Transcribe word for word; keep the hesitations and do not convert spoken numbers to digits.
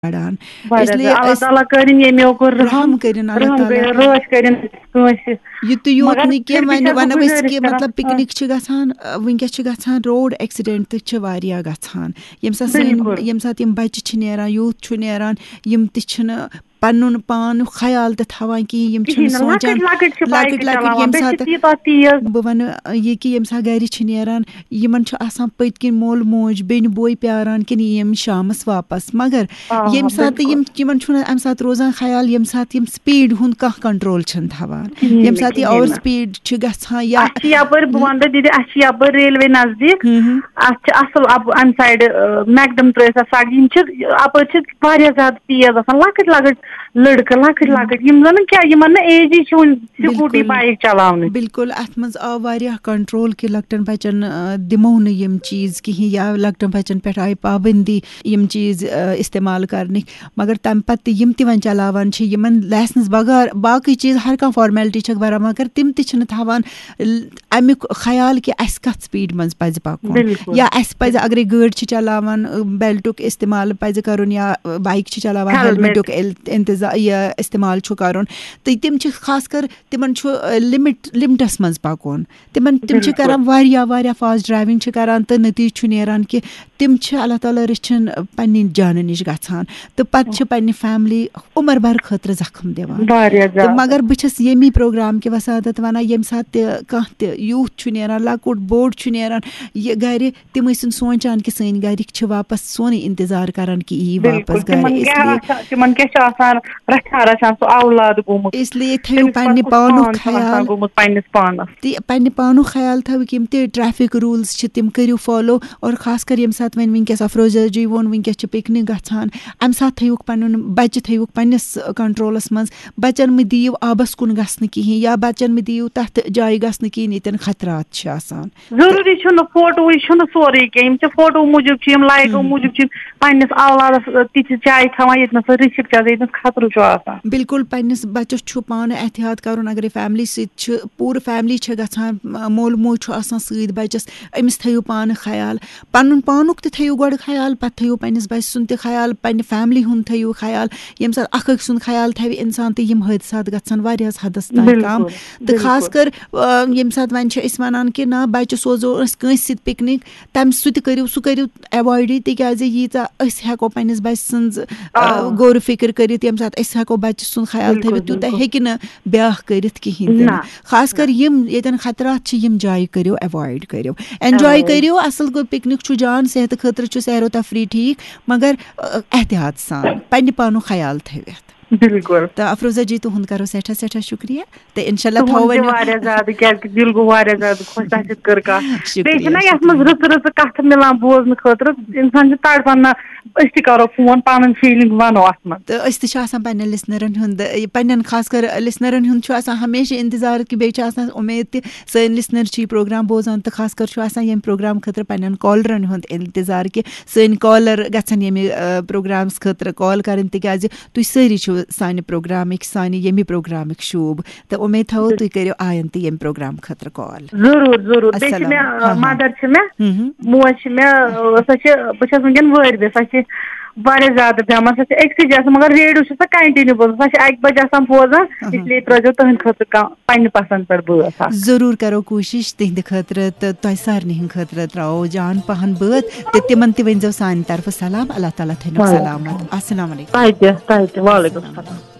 کڑان۔ واریاہ اس لیے زیادٕ۔ اللہ أسۍ تعالیٰ کٔرِنۍ ییٚمیو کوٚر رحم، رحم کٔرِنۍ اللہ رحم تعالیٰ۔ کٔرِنۍ، رٲچھ کٔرِنۍ کٲنٛسہِ۔ یہِ تہِ یوت مگر نہٕ پھر کینٛہہ، بھی وۄنۍ چھَس وَنو بہٕ أسۍ گُزٲرِش کہِ کران۔ مطلب پِکنِک چھِ گژھان، آ، وٕنکیٚس چھِ گژھان روڈ ایکسیڈنٹ تہِ چھِ واریاہ گژھان۔ ییٚمہِ ساتہٕ سٲنۍ، بِلکُل۔ ییٚمہِ ساتہٕ یِم بَچہِ چھِ نیران، یوٗتھ چھُ نیران، یِم تہِ چھِنہٕ پَنُن پان خیال تہِ تھاوان کِہیٖنۍ، یِم چھِنہٕ کِہیٖنۍ نہٕ۔ سونٛچان۔ لۄکٕٹۍ لۄکٕٹۍ چھِ بایکہٕ لۄکٕٹۍ لۄکٕٹۍ چلاوان، ییٚمہِ بیٚیہِ چھِ ساتہٕ تیٖژاہ تیز۔ بہٕ وَنہٕ، یہِ کہِ ییٚمہِ ساتہٕ گَرِ چھِ نیران، یِمَن چھُ آسان پٔتۍ کِنۍ مول موج، بیٚنہِ بوے پیاران کِنہٕ یِم شامَس واپَس۔ مگر آ، ییٚمہِ ساتہٕ بِلکُل۔ یِم، یِمَن چھُنہٕ اَمہِ ساتہٕ روزان خیال، ییٚمہِ ساتہٕ یِم سپیٖڈ ہُنٛد کانٛہہ کنٹرول چھِنہٕ تھاوان، کِہیٖنۍ ییٚمہِ نہٕ، ساتہٕ یہِ کِہیٖنۍ اوور نہٕ۔ سپیٖڈ چھِ گژھان یا اَسہِ چھِ یَپٲرۍ، بہٕ وَنہٕ تۄہہِ دِدِ، اَسہِ چھِ یَپٲرۍ ریلوے نزدیٖک۔ ہُم ہُم۔ اَتھ چھِ اَصٕل اَپ-، اَمہِ سایڈٕ، آ، میکڈم ترٛٲیِتھ اَتھ سڑکہِ۔ یِم چھِ اَپٲرۍ چھِ واریاہ زیادٕ تیز آسان، لۄکٕٹۍ لۄکٕٹۍ لٔڑکہٕ، لۄکٕٹۍ ہُم۔ لۄکٕٹۍ، یِم زَن نہٕ کیٛاہ، یِمَن نہٕ ایجی چھِ وُنہِ سکوٗٹی بِلکُل۔ بایِک چلاونٕچ۔ بِلکُل، اَتھ منٛز آو واریاہ کنٹرول کہِ لۄکٹٮ۪ن بَچَن، آ، دِمو نہٕ یِم چیٖز کِہیٖنۍ یا لۄکٹٮ۪ن بَچَن پٮ۪ٹھ آیہِ پابندی یِم چیٖز، آ، استعمال کَرنٕکۍ۔ مگر تَمہِ پَتہٕ تہِ یِم تہِ وۄنۍ چلاوان چھِ، یِمَن لایسنس بغٲر باقٕے چیٖز ہر کانٛہہ فارمیلٹی چھَکھ بَران، مگر تِم تہِ چھِنہٕ تھاوان ال-، اَمیُک خیال کہِ اَسہِ کَتھ سپیٖڈ منٛز پَزِ پَکُن۔ بِلکُل۔ یا اَسہِ پَزِ، اگرے گٲڑۍ چھِ چلاوان، آ، بیلٹُک استعمال پَزِ کَرُن یا، آ، بایِک چھِ چلاوان، ہیلمٹ۔ ہیلمٹُک اِل-، اِنتظا-، یہِ استعمال چھُ کَرُن۔ تہٕ تِم چھِ خاص کر، تِمن چھُ، آ، لِمٹ، لِمٹس منٛز پَکُن۔ تِمن، تِم چھِ بِلکُل۔ کران واریاہ، واریاہ فاسٹ ڈرایونگ چھِ کران تہٕ نتیٖجہٕ چھُ نیران کہِ تِم چھِ اللہ تعالیٰ رٔچھِنۍ پننہِ جانہٕ نِش گژھان تہٕ پتہٕ چھِ پننہِ فیملی عمر بھر خٲطرٕ زخم دِوان۔ واریاہ تہٕ زیادٕ۔ مگر بہٕ چھَس ییٚمی پروگرام کہِ وسادت وَنان، ییٚمہِ ساتہٕ تہِ کانٛہہ تہِ یوٗتھ چھُ نیران، لۄکُٹ بوٚڑ چھُ نیران، یہِ گرِ، تِم ٲسِن سونٛچان کہِ سٲنۍ گرِکۍ چھِ واپس سونُے انتظار کران کہِ یی بِلکُل۔ واپس گرِ۔ تِمن اس کیٛاہ لیے آسان، تِمن کیٛاہ چھُ آسان رژھا رژھان سُہ اولاد گوٚمُت؟ اس لیے تھٲیِو تٔمِس پننہِ پتہٕ کُس پانُک پان چھُ آسان خیال۔ گوٚمُت پننِس پانس؟ تہِ پننہِ پانُک خیال تھٲوِو، یِم تہِ ٹریفک روٗلٕز چھِ تِم کٔرِو فالو، اور خاص کر ییٚمہِ ساتہٕ وۄنۍ وٕنکیٚس افروزہ جی ووٚن وٕنکیٚس چھِ پِکنِک گژھان، اَمہِ ساتہٕ تھٲیِوُکھ پنُن بچہِ تھٲیِوُکھ پننِس کنٹرولس منٛز، بچن مہٕ دِیِو آبس کُن گژھنہٕ کِہیٖنۍ یا بچن مہٕ دِیِو تتھ جایہِ گژھنہٕ کِہیٖنۍ ییٚتٮ۪ن خطرات چھِ آسان۔ ضروٗری چھُنہٕ فوٹوٕے چھُنہٕ سورُے کینٛہہ، یِم چھِ فوٹو موٗجوٗب چھِ یِم لایکو ہُم۔ موٗجوٗب چھِ یِم پننِس اولادس تِژھِ جایہِ تھاوان ییٚتہِ نَس سُہ رِسک چھِ آسان، ییٚتہِ نَس خطرٕ چھُ آسان۔ بِلکُل، پننِس بچس چھُ پانہٕ احتیاط کرُن، اگرے فیملی سۭتۍ چھِ، پوٗرٕ فیملی چھِ گژھان، م-، مول موج چھُ آسان سۭتۍ بچس، أمِس تھٲیِو پانہٕ خیال، پنُن پانُک تہِ تھٲیِو گۄڈٕ خیال، پتہٕ تھٲیِو پننِس بچہِ سُنٛد تہِ خیال، پننہِ فیملی ہُنٛد تھٲیِو خیال۔ ییٚمہِ ساتہٕ اکھ أکۍ سُنٛد خیال تھاوِ انسان تہٕ یِم حٲدثات گژھن واریاہس حدس تام بِلکُل، کم۔ تہٕ خاص بِلکُل۔ کر، آ، ییٚمہِ ساتہٕ وۄنۍ چھِ أسۍ وَنان کہِ نہ، بَچہِ سوزو أسۍ کٲنٛسہِ سۭتۍ پِکنِک، تَمہِ سُہ تہِ کٔرِو، سُہ کٔرِو ایوایڈٕے، تِکیٛازِ ییٖژاہ أسۍ ہٮ۪کو پنٛنِس بَچہِ سٕنٛز، آ، آ۔ غور و فِکر کٔرِتھ، ییٚمہِ ساتہٕ أسۍ ہٮ۪کو بَچہِ سُنٛد خیال بِلکُل، تھٲوِتھ، تیوٗتاہ بِلکُل۔ ہیٚکہِ نہٕ بیٛاکھ کٔرِتھ کِہیٖنۍ تہِ نہ۔ نہٕ۔ خاص کر نہ۔ یِم ییٚتٮ۪ن خطرات چھِ، یِم جایہِ کٔرِو ایوایڈ کٔرِو۔ انجوے ایوایڈ۔ کٔرِو، اَصٕل گوٚو، پِکنِک چھُ جان، صحتہٕ خٲطرٕ چھُ سیر و تفریح ٹھیٖک، مگر، آ، احتیاط سان، پنٛنہِ پانُک خیال تھٲوِتھ۔ بِلکُل۔ تہٕ افروزہ جی، تُہُنٛد کرو سٮ۪ٹھاہ سٮ۪ٹھاہ شُکریہ۔ تہٕ انشاء اللہ تُہُنٛد تھاوو تہِ وۄنۍ۔ واریاہ زیادٕ، کیٛازِ کہِ دِل گوٚو واریاہ زیادٕ خۄش تۄہہِ سۭتۍ کٔر کَتھ۔ شُکریہ، بیٚیہِ چھِنہ یَتھ منٛز شُکریہ۔ رٕژٕ رٕژٕ کَتھٕ مِلان بوزنہٕ خٲطرٕ، اِنسان چھُ تڑپان، نہ أسۍ تہِ کَرو فون، پَنٕنۍ فیٖلِنٛگ وَنو اَتھ منٛز۔ تہٕ أسۍ تہِ چھِ آسان پنٛنٮ۪ن لِسنَرَن ہُنٛد، یہِ پنٛنٮ۪ن خاص کر لِسنَرَن ہُنٛد چھُ آسان ہمیشہِ اِنتظار، کہِ بیٚیہِ چھِ آسان اُمید تہِ سٲنۍ لِسنَر چھِ یہِ پروگرام بوزان، تہٕ خاص کر چھُ آسان ییٚمہِ پروگرام خٲطرٕ پنٛنٮ۪ن کالرَن ہُنٛد اِنتظار، کہِ سٲنۍ کالر گژھن ییٚمہِ، آ، پروگرامَس خٲطرٕ کال کَرٕنۍ، تِکیٛازِ تُہۍ سٲری چھِو سانہِ پروگرامٕکۍ، سانہِ ییٚمہِ پروگرامٕکۍ شوٗب۔ تہٕ اُمید تھاوو تُہۍ کٔرِو آیندٕ ییٚمہِ پروگرام خٲطرٕ کال۔ ضروٗر، ضروٗر۔ بیٚیہِ چھِ السلام۔ مےٚ، ہاں، ہاں۔ مدر چھِ مےٚ، ہُم، ہُم۔ موج چھِ مےٚ، سۄ چھِ، بہٕ چھَس وٕنکیٚن وٲرۍوِ، سۄ چھِ واریاہ زیادٕ بٮ۪مار، سۄ چھِ أکسٕے جایہِ آسان، مگر ریڈیو چھِ سۄ کنٹِنیو بوزان، سۄ چھِ اَکہِ بجہِ آسان بوزان، اہم۔ اس لیے ترٲیزیو تُہٕنٛدِ خٲطرٕ کانٛہہ پننہِ پسند پٮ۪ٹھ بٲتھ اکھ۔ ضروٗر کرو کوٗشِش تِہنٛدِ خٲطرٕ تہٕ تۄہہِ سارنٕے ہٕنٛدِ خٲطرٕ ترٛاوو جان پہن بٲتھ تہٕ تِمن تہِ ؤنۍزیو سانہِ طرفہٕ سلام۔ اللہ تعالیٰ تھٲینو وعلیکم۔ سلامت۔ السلام علیکم۔ تۄہہِ تہِ، تۄہہِ تہِ۔ وعلیکم السلام۔ السلام۔